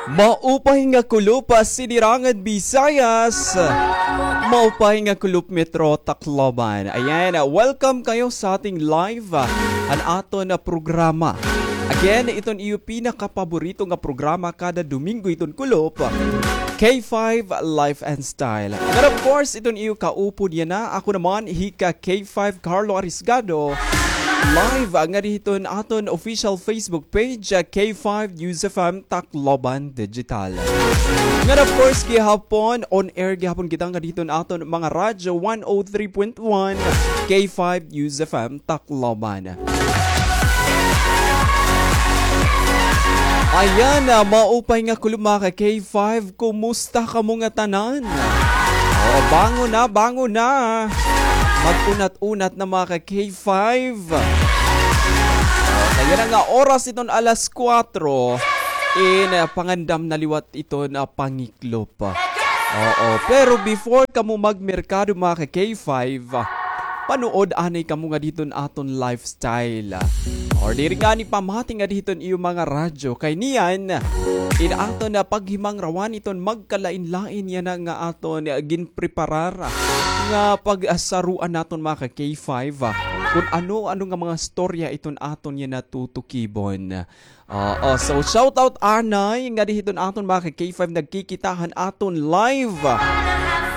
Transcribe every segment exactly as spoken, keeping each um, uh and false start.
Maupay nga kulop, ah, Sinirangan Visayas. Maupay nga kulop, Metro Tacloban. Ayan, ah, welcome kayo sa ating live, ah, an aton, ah, programa. Again, iton iyo pinakapaborito nga programa kada Domingo iton kulop, ah, K five Life and Style. And of course, iton iyo kaupod yana, ako naman, hika K five Carlo Arisgado. Live, ah, ngadi hiton aton official Facebook page, ah, K five News F M Tacloban Digital. Ngan of course, gihapon, on air gihapon kita ngadi hiton aton mga radyo, one oh three point one, K five News F M Tacloban. Ayan, ah, maupay nga kulop, mga ka K five. Kumusta kamo ngatanan? O, bangon na, bangon na. Mag-unat-unat na, mga ka K five. O, kay yana nga oras iton alas kuwatro. In, ah, pangandam na liwat iton, ah, pangiklop. Oo, pero before kamo magmerkado, mga ka K five, ah, panuod anay kamo ngadi hiton aton lifestyle. Or diri ngani pamati ngadi hiton iyo mga radyo. Kay niyan, in aton nga paghimangrawan iton magkalain-lain yana nga aton, ah, ginpreparar, ah, nga pagsaruan naton, mga ka K five, ah, kun ano-ano nga mga storya iton aton yana tutukibon. Oo, so shout out anay ngadi hiton aton mga ka K five nagkikita han aton live.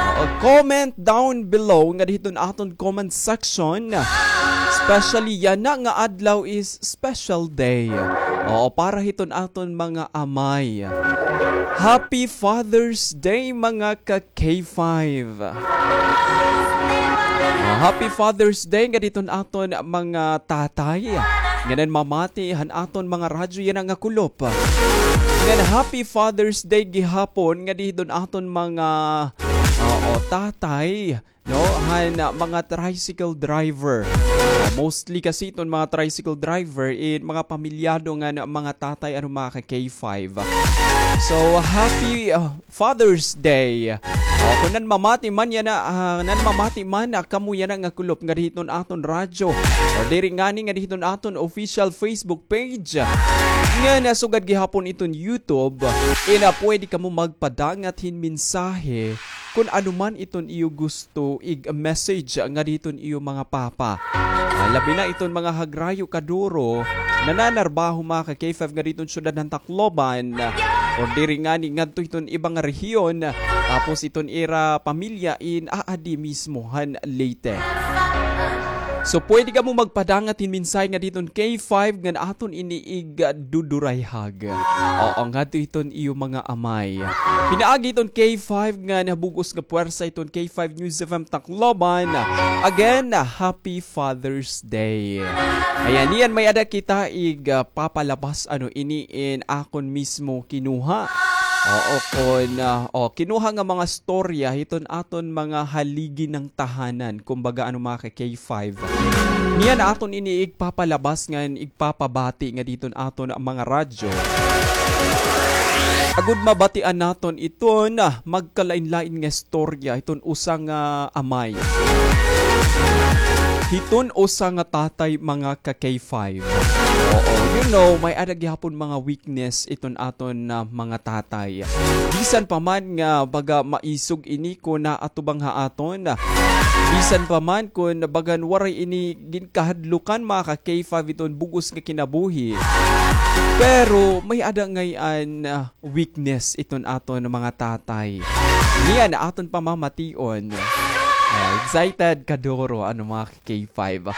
Oo, comment down below ngadi hiton aton comment section. Especially yana nga adlaw is special day. Oo, para hiton aton mga amay. Happy Father's Day, mga ka K five. Ah, happy Father's Day ngadi hiton aton mga tatay. Ngan mamati han aton mga radyo yana nga kulop. Ngan happy Father's Day gihapon ngadi hiton aton mga, oo, tatay, no? Han, ah, mga tricycle driver. Ah, mostly kasi iton mga tricycle driver, eh, mga pamilyado nga na mga tatay, ano, mga ka K five. So, happy, ah, Father's Day. O, kun nanmamati man yana, ah, nanmamati man, ah, kamo yana nga kulop ngadi hiton aton radyo. O diri ngani ngadi hiton aton official Facebook page. Ngan sugad gihapon iton YouTube. Ina, pwede kamo magpadangat hin mensahe kun ano man iton iyo gusto ig-message ngadi hiton iyo mga papa. Ah, labi na iton mga hagrayo kaduro, nananarbaho mga ka K five ngadi hiton syudad han Tacloban, o diri ngani ngadto hiton iba nga rehiyon, tapos iton ira pamilya in aadi mismo han Leyte. So, pwede kamo magpadangat hin mensahe ngadi hiton K five ngan aton ini igdudurayhag. Oo, ngadto hiton iyo mga amay. Pinaagi hiton K five ngan bug-os nga pwersa hiton K five News F M Tacloban. Again, happy Father's Day. Ayan, niyan may-ada kita ig, ah, papalabas, ano, ini in akon mismo kinuha. Oo, kun, ah, o, kinuha nga mga storya hiton aton mga haligi nga tahanan, kumbaga, ano, mga ka K five. Niyan aton ini igpapalabas ngan igpapabati ngadi hiton aton mga radyo. Agod mabatian naton iton, ah, magkalain-lain nga istorya hiton usa nga amay. Hiton usa nga tatay, mga ka K five. Oo, you know, may-ada gihapon mga weakness iton aton, ah, mga tatay. Bisan pa man nga baga maisog ini kun naatubang ha aton. Bisan pa man kun bagan waray ini ginkahadlukan, mga ka K five, iton bug-os nga kinabuhi. Pero may-ada ngay-an, ah, weakness iton aton mga tatay. Niyan aton pamamation. Ah, excited kaduro, ano, mga K five.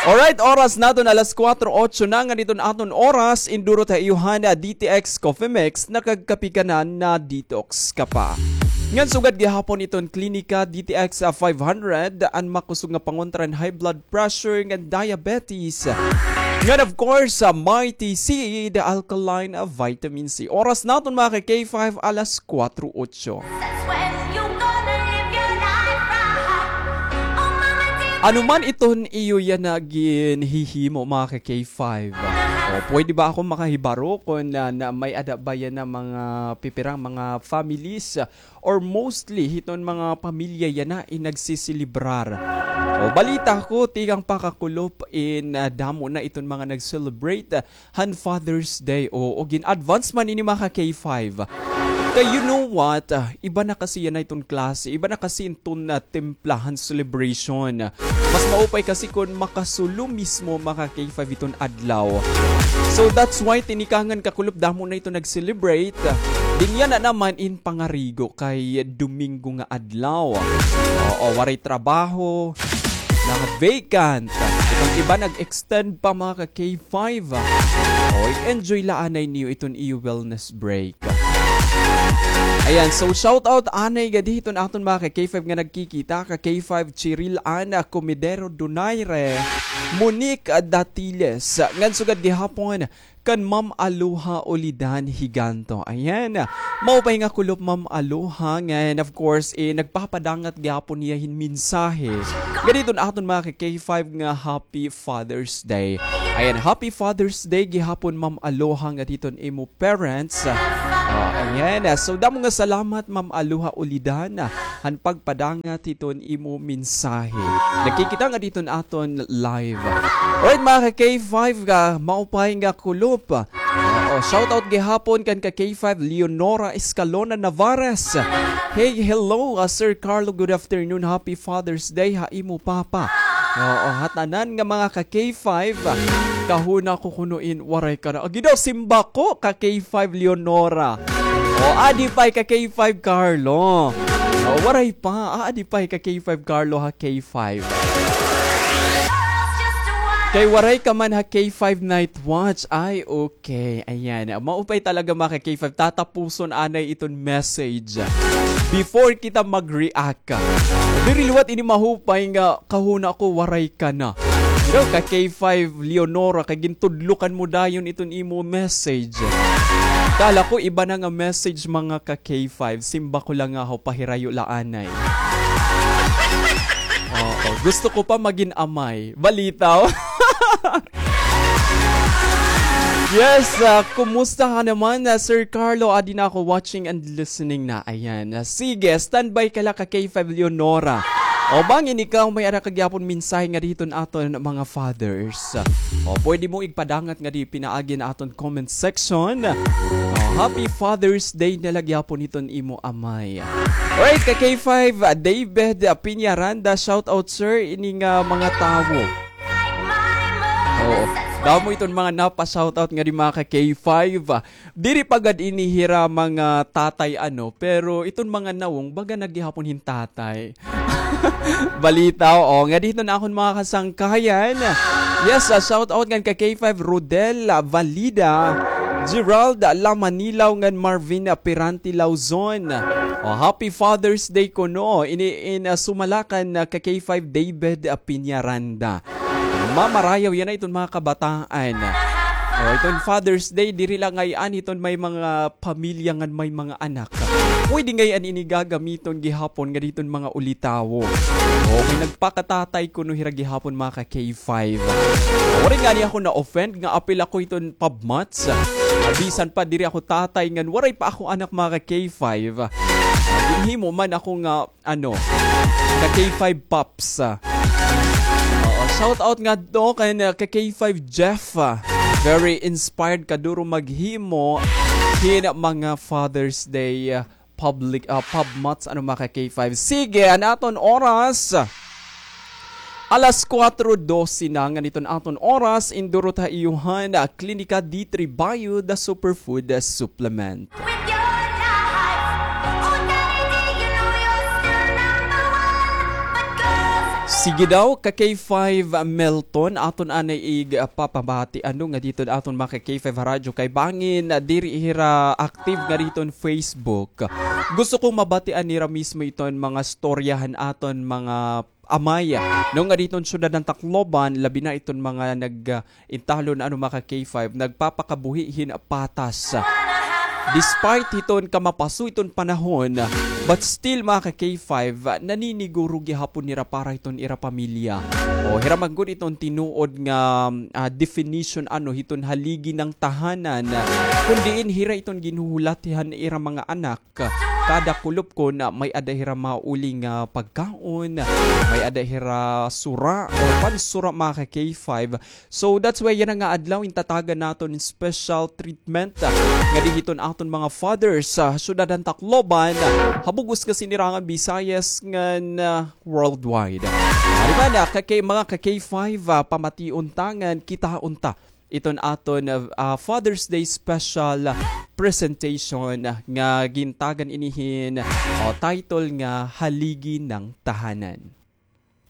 Alright, oras naton alas kuwatro otso na ngadi iton aton oras, indurot ha iyo han D T X Coffee Mix, nakagkape ka na, na-detox ka pa. Ngan sugad gihapon iton Klinika D T X, ah, five hundred, an makusog nga pangontra han high blood pressure ngan diabetes. Ngan of course, ah, Mighty C, the alkaline, ah, vitamin C. Oras naton, mga ka K five, alas kuwatro otso. Ano man iton iyo yana ginhihimo, mga ka K five. O, pwede ba ako makahibaro kon, ah, na may-ada ba yana mga pipirang mga families, ah, or mostly hiton mga pamilya yana in nagsiselebrar? O, balita ko, tikang pa kakulop in, ah, damo na iton mga nag-celebrate, ah, han Father's Day. O, o gin-advance man ini, mga ka-K five. Kay you know what? Ah, iba na kasi yana iton klase. Iba na kasi iton, ah, timpla han celebration. Mas maupay kasi kon makasulo mismo, mga ka-K five, iton adlaw. So that's why tinikangan kakulop damo na iton nag-celebrate. Dinhi yana naman in pangarigo kay Domingo nga adlaw. Oo, waray trabaho, na vacant. Iton iba nag-extend pa, mga ka-K five. O, i-enjoy la anay niyo iton iyo wellness break. Ayan, so shout out anay gadi hiton aton mga ka-K five nga nagkikita, ka-K five Chiril Ana Comedero Donaire, Monique Datiles, ngan sugad gihapon kan Ma'am Aloha Ulidan Higanto. Ayan, maupay nga kulop, Ma'am Aloha, ngan of course, eh, nagpapadangat gihapon hiya hin mensahe gadi hiton aton mga ka-K five nga Happy Father's Day. Ayan, Happy Father's Day gihapon, Ma'am Aloha, nga hiton imo parents. Ah, ayan. Ah, so, damo nga salamat, Ma'am Aloha Ulidan, ah, han pagpadangat hiton imo mensahe. Nagkikita nga hiton aton live. Alright, mga ka-K five, ah, maupay nga kulop. Oo, shout out gihapon kan ka-K five Leonora Escalona Navarez. Hey, hello, ah, Sir Carlo, good afternoon. Happy Father's Day ha imo papa. Oo, ha tanan nga mga ka-K five, kahuna ko kuno in waray ka na. Agi daw, simbako, ka-K five Leonora. O, adi pa ka-K five Carlo. O, waray pa. Ah, adi pa ka-K five Carlo ha K five. Kay waray ka man ha K five Night Watch. Ay, okay. Okay, ayan. Maupay talaga, mga ka-K five. Tatapuson anay iton message before kita mag-react. Diri liwat ini mahupay nga kahuna ko waray ka na. Pero ka-K five Leonora, kay gintudlokan mo dayon iton imo message. Kala ko iba na nga message, mga ka-K five. Simba ko lang nga ho, pahirayo la anay. Oo, gusto ko pa magin amay. Balitaw. Yes, ah, kumusta ka naman, ah, Sir Carlo? Adi na ako, watching and listening na. Ayan. Ah, sige, standby ka la ka-K five Leonora. O, bangin ikaw may-ada ka gihapon mensahe ngadi hiton aton mga fathers. O, pwede mo igpadangat ngadi pinaagi han aton comment section. O, Happy Father's Day na la gihapon hiton imo amay. Alright, ka-K five, ah, David, ah, Piñaranda, shout out, sir, ini nga mga tawo. Oo. Damo iton mga napa-shoutout ngadi, mga ka-K five. Diri pa gad ini hira mga tatay, ano, pero iton mga nawong, baga na gihapon hin tatay. Balita, o, ngadi hiton akon mga kasangkayan. Yes, ah, shoutout ngan ka-K five Rodel, ah, Valida, Gerald, ah, Lamanilaw, ngan Marvin, ah, Pirante Lauzon. O, happy Father's Day kuno. Ini in, ah, sumala kan, ah, ka-K five David, ah, Piñaranda. Mamarayaw yana iton mga kabataan. O, iton Father's Day, diri la ngay-an hiton may mga pamilya ngan may mga anak. Pwede ngay-an ini gagamiton gihapon ngadi hiton mga ulitawo. O, kay nagpakatatay kuno hira gihapon, mga ka-K five. Waray ngani ako na-offend nga apil ako hiton pabmats. Bisan pa diri ako tatay ngan waray pa ako anak, mga ka-K five. Ginhimo man ako nga ano, ka-K five Pops, ah. Oo, shout out ngadto kan, ah, ka-K five Jeff, ah. Very inspired, kaduro maghimo hin mga Father's Day, ah, public, ah, pabmats, ano, mga ka-K five. Sige, an aton oras, alas kuwatro dose na, ngan iton aton oras, indurot ha iyo han, ah, Klinika D three Bio, the superfood, ah, supplement. Sige daw, ka-K five Melton, aton anay igpapabati, ano, ngadi hiton aton mga ka-K five ha radyo kay bangin, ah, diri hira active ngadi hiton Facebook. Gusto kong mabatian nira mismo iton mga storya han aton mga amay, no, ngadi hiton syudad han Tacloban, labi na iton mga nag, ah, intahlon, ano, mga ka-K five, nagpapakabuhi hin patas. Despite hiton kamapaso iton panahon, But still, mga ka-K five, ah, naniniguro gihapon hira para hiton ira pamilya. O, hira man gud iton tinuod nga, ah, definition, ano, hiton haligi ng tahanan. Kun diin hira iton ginhuhulat han ira mga anak. Kada kulop kon, ah, may-ada hira mauli nga pagkaon, may-ada hira sura o pansura, mga ka-K five. So, that's why yana nga adlaw, gintatagan naton special treatment, ah, ngadi hiton aton mga fathers sa syudad han Tacloban, ah, ha bug-os nga sinirangan Visayas ngan, ah, worldwide. Ari man, ah, ka-K-, mga ka-K five, ah, pamation ta ngan kitaon ta iton aton, ah, ah, Father's Day special, ah, presentation, ah, nga gintagan ini hin, o, title nga Haligi ng Tahanan.